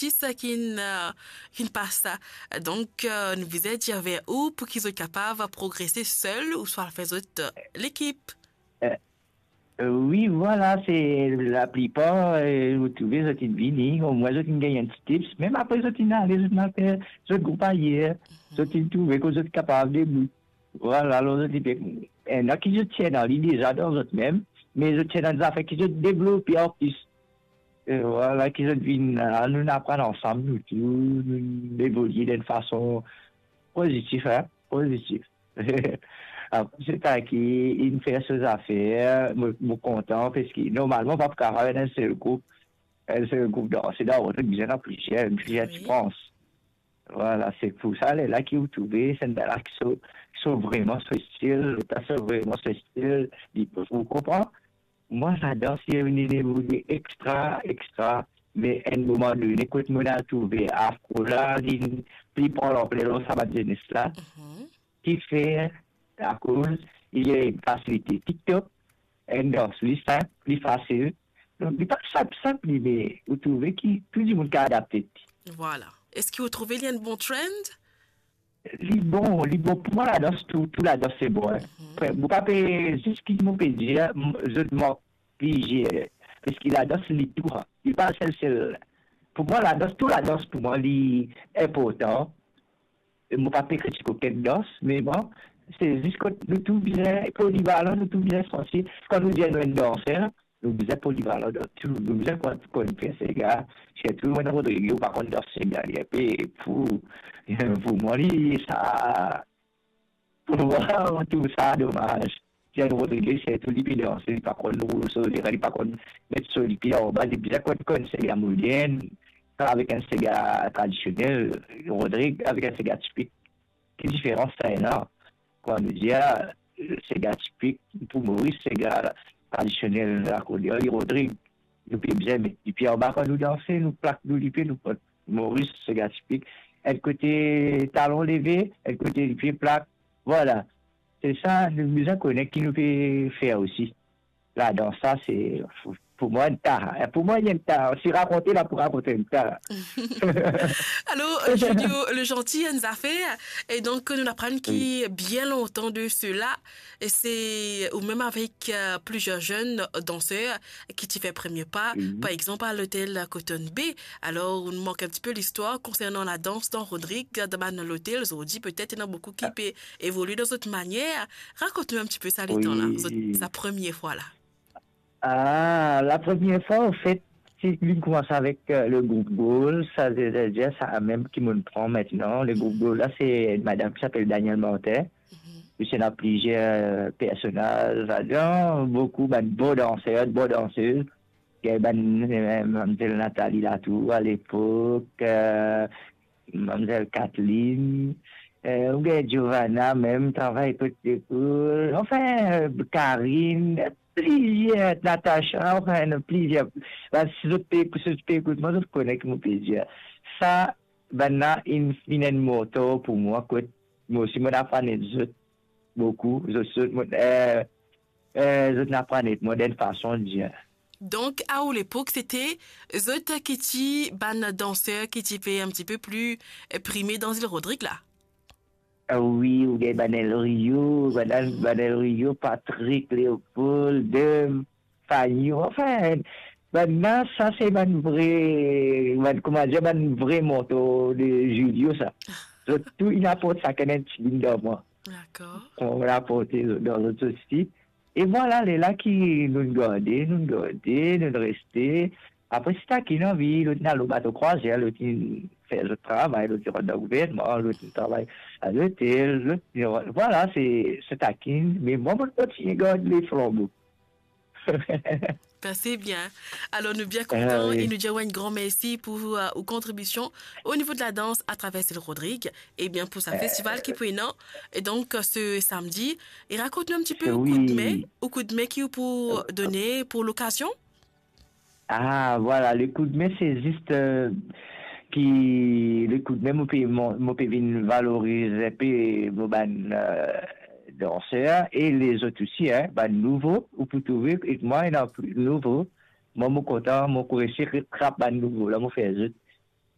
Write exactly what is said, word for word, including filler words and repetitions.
artis ki'nn, eh, ki'nn pas. Donk, eh, nou bizin dir ver ou pou ki zot kapav progrese sel ouswa al fer zot, eh, lekip. Eh, eh, wi, vwala, se laplipar, eh, ou trouve zot inn vini, omwin zot inn gagn enn ti tips. Mem apre zot inn ale, zot inn al fer zot group ayer, zot inn trouve kot zot kapav debout. Vwala, alor zot inn pe, ena ki zot ti ena li deza dan zot mem, me zot ti ena zafer ki zot devlope an plis. E vwala ki zot vinn la, nou aprann ansam, nou tou, nou evolie dan enn fason pozitif, hein, pozitif. Apre, se ta ki inn fer so zafer, mo, mo kontan, parski normalman, pa pou kapav ena enn sel group, enn sel group danse dan, ou bizin ena plizier, plizier Wi. Ti prans. Vwala, se pou sa, lerla ki ou trouve, se ena ki so, ki so vreman so stil, sa so vreman so stil, li, ou konpran? Mwa, sa dans, li vinn evolie extra, extra, me enn moman done, kot mo al trouve afro la, li pli pran lanpler dan sa bann zenes la, Mhm. ki fer, akoz li ena enn fasilite TikTok, enn dans pli sinp, pli fasil. Donk, li pa sinp, sinp li, me ou trouve ki tou dimoun kapav adapte. Vwala. Eski ou trouve li enn bon trend? Li bon, li bon. Pou mwa, ladans, tou, tou ladans, se bon, hein. Mhm. Mo pa pe, zis ki mo pe dir, m-, zot mank plizier. Parski ladans, li tou, hein. Li pa sel, sel. Pou mwa, ladans, tou ladans, pou mwa, li inportan. E mo pa pe kritik okenn dans, me bon, se zis kot nou tou bizin polivalan, nou tou bizin santi, kan nou dir nou enn danser, nou bizin polivalan dan tou, nou bizin konn, konn fer sega, sirtou mwa Rodrig, ou pa konn dans sega, li inpe pou, pou mwa, li, sa, pou mwa, mo trouv sa domaz. Jeanne Rodriguez, sirtou li pe danse, li pa konn roulo, li pa konn met so lipie anba, li bizin konn, konn sega modern, avek enn sega tradisionel, Rodrig, avek enn sega tipik. Ki diferans sa ena? Kan nou dir, ah, sega tipik pou Moris, sega tradisionel, akoz li Rodrig, nou pe bizin met lipie anba kan nou danse, nou plak nou lipie, nou pran Moris, sega tipik. Enn kote talon leve, enn kote lipie plak. Vwala. Se sa, nou bizin kone ki nou pe fer osi. Ladans sa, se, pou mwa, enn ta. Pou mwa, enn ta. Si rakonte la, pou rakonte enn ta. Alor, euh, Julio Legentil, enn zafer, e donk, nou aprann ki Wi. Bien lontan de sela, e se ou mem avek, euh, plizier zenn danser ki ti fer premie pa, Wi. Par exanp, a lotel Cotton Bay. Alor, ou mank enn tipe listwar konsernan ladans dan Rodrig, dan bann lotel, zordi, petet, ena boukou ki Ah. Pe evolie dan zot manier. Rakont nou enn tipe sa letan la, Wi. Zot, sa premie fwa la. Ah, la premie fwa, anfet, ti, li koumans avek, euh, le group Goal, sa, se, se, se sa mem ki mo'nn pran aster. Le group Goal la, se enn madanm ki apel Danielle Martin. Mhm. Li ti ena plizier, euh, personaz ladan, boukou bann bon danser, bon dansez. Gagn bann, euh, mamzel Nathalie Latour alepok, euh, mamzel Kathleen, euh, ou gagn Giovanna mem, travay kot lekol, anfin, euh, Karine, plizier, Natacha, anfin, ena plizier. Ba, si zot pe, si zot pe ekout mwa, zot kone ki mo pe dir. Sa, bann la, inn, inn enn motor pou mwa, kot mo osi, mo aprann zot boukou, zot, zot, mo, euh, euh, zot aprann mwa enn fason dir. Donk, a ou lepok, sete zot ki ti bann danser ki ti pe enn tipe pli, euh, prime dan Zil Rodrig la? Ah wi, ou gagn bann El Rio, bann, bann El Rio, Patrick, Léopold, Dem, Fanny, anfin, bann la, sa se bann vre, bann, kouma dir, bann vre motor de Julio, sa. Zot tou, inn aport sakenn enn tigit dan mwa. Dakor. Mo aport dan zot osi. E vwala, lerla ki nou garde, nou garde, nou reste. Apre, si ta ki ena anvi, lot inn al lor bato krwazer, lot inn fer zot travay, lot inn rant dan gouvernman, lot inn travay a lotel, lot, vwala, se, se ta ki, me mwa, mo kontigne gard le flanbo. Ben, se bien. Alor, nou bien kontan e nou dir ou enn gran mersi pou, euh, ou kontribision o nivo de ladans atraver Zil Rodrig. Ebien, pou sa festival ki pou ena, e donk, euh, se samdi, e rakont nou enn tipe ou koudme, ou koudme ki ou pou done pou lokazion? Ah, vwala, le koudme, se zis, euh, ki le koudme, mo pe, mo, mo pe vinn valoriz enpe mo bann, euh, danser, e lezot osi, hein, bann nouvo, ou pou trouve, e mwa, ena pli nouvo. Mwa, mo kontan, mo resi trap bann nouvo la, mo fer zot.